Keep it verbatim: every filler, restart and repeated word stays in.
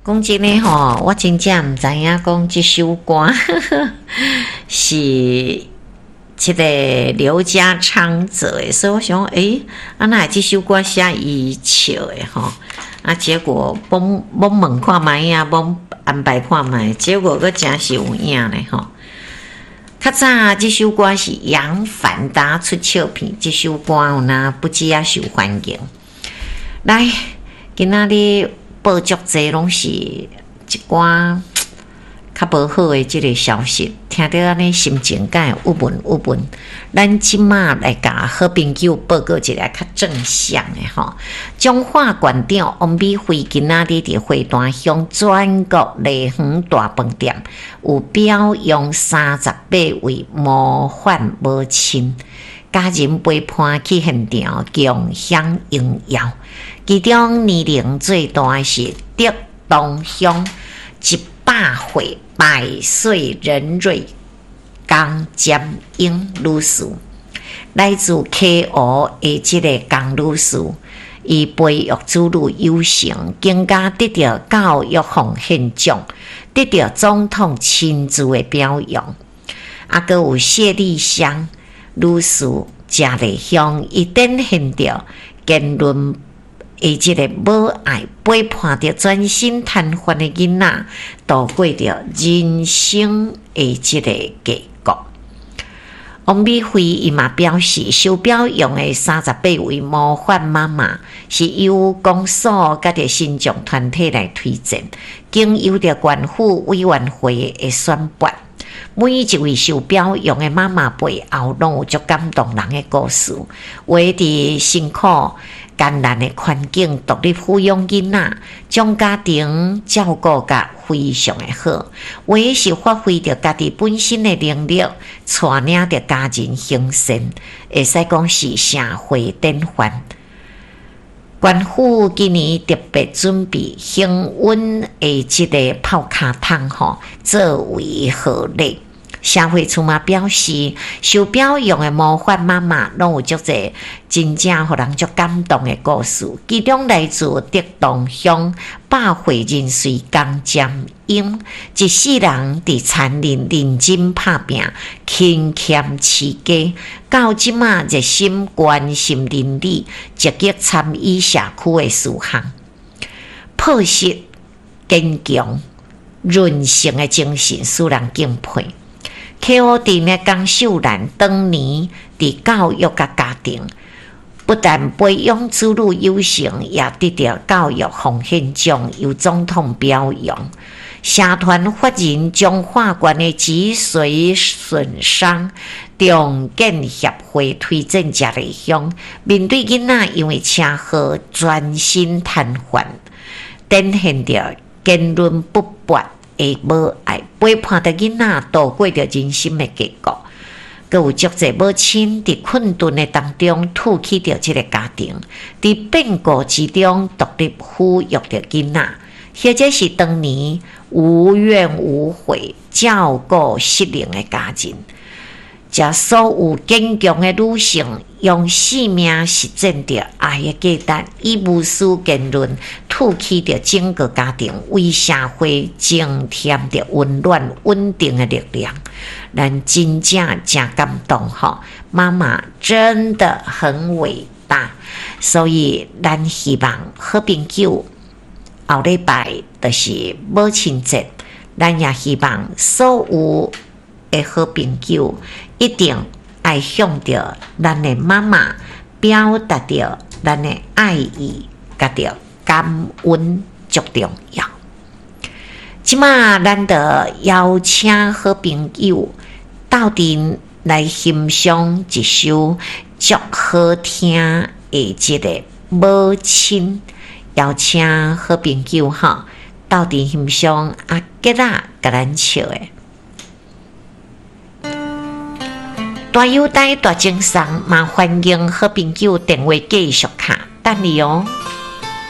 講真的吼，我真正毋知影講這首歌是這个劉家昌做的，所以我想，欸，啊哪會這首歌寫伊唱的吼？啊，結果罔罔問看覓啊，罔安排看覓，結果閣誠是有影咧吼。較早這首歌是楊凡達出唱片，這首歌有若不止仔受歡迎。來，今仔日報足濟攏是一寡較無好的這个消息，聽著按呢心情敢會鬱悶鬱悶。咱這馬來共好朋友報告一个較正向的吼。彰化縣長王美惠今仔日佇花壇鄉全國麗園大飯店有表揚三十八位模範母親，家人陪伴去現場共享榮耀。其中年齡最大的是竹東鄉一百歲百歲人瑞江占英女士，來自溪湖的這个江女士，伊培育子女有成，更加得著教育奉獻獎，得著總統親自的表揚。啊，閣有謝麗香女士，嘉義鄉，伊展現著堅韌的這个母愛，陪伴著全身癱瘓的囡仔，度過著人生的這个低谷。王美惠伊嘛表示，受表揚的三十八位模範媽媽是由公所佮著身障團體來推薦，經由著縣府委員會的選拔。每一位受表揚的媽媽背後，攏有足感動人的故事。有的佇辛苦艱難的環境獨立撫養囡仔，將家庭照顧甲非常的好；有的是發揮著家己本身的能力，帶領著家人行善，會使講是社會典範。縣府今年特別準備恆溫的這个泡跤桶吼，作為賀禮。社會處嘛表示，受表揚的模範媽媽攏有足濟真正予人足感動的故事。其中來自竹東鄉百歲人瑞江占英，一世人佇田裡認真拍拚，勤儉持家，到這馬熱心關心鄰里，積極參與社區的事項，樸實堅強、韌性的精神，使人敬佩。溪湖鎮的江秀蘭當年佇教育佮家庭，不但培養子女有成，也得著教育奉獻獎，由總統表揚。社團法人彰化縣的脊髓損傷重建協會推薦嘉義鄉，面對囡仔因為車禍全身癱瘓，展現著堅韌不拔的母愛，陪伴著囡仔度過著人生的低谷。閣有足濟母親佇困頓的當中托起著這个家庭，佇變故之中獨立撫育著囡仔，或者是當年無怨無悔照顧失能的家人。這所有堅強的女性，用生命實踐著愛的價值，以無私堅韌托起著整個家庭，為社會增添著溫暖穩定的力量。咱真正誠感動吼，媽媽真的很偉大，所以咱希望好朋友後禮拜就是母親節，咱也希望所有的好朋友一定愛向著咱的媽媽表達著咱的愛意，佮著感恩足重要。這馬咱就邀請好朋友鬥陣來欣賞一首足好聽的這个母親，邀請好朋友吼鬥陣欣賞阿杰仔共咱唱的。大友帶大精神，嘛歡迎好朋友電話繼續敲，等你哦。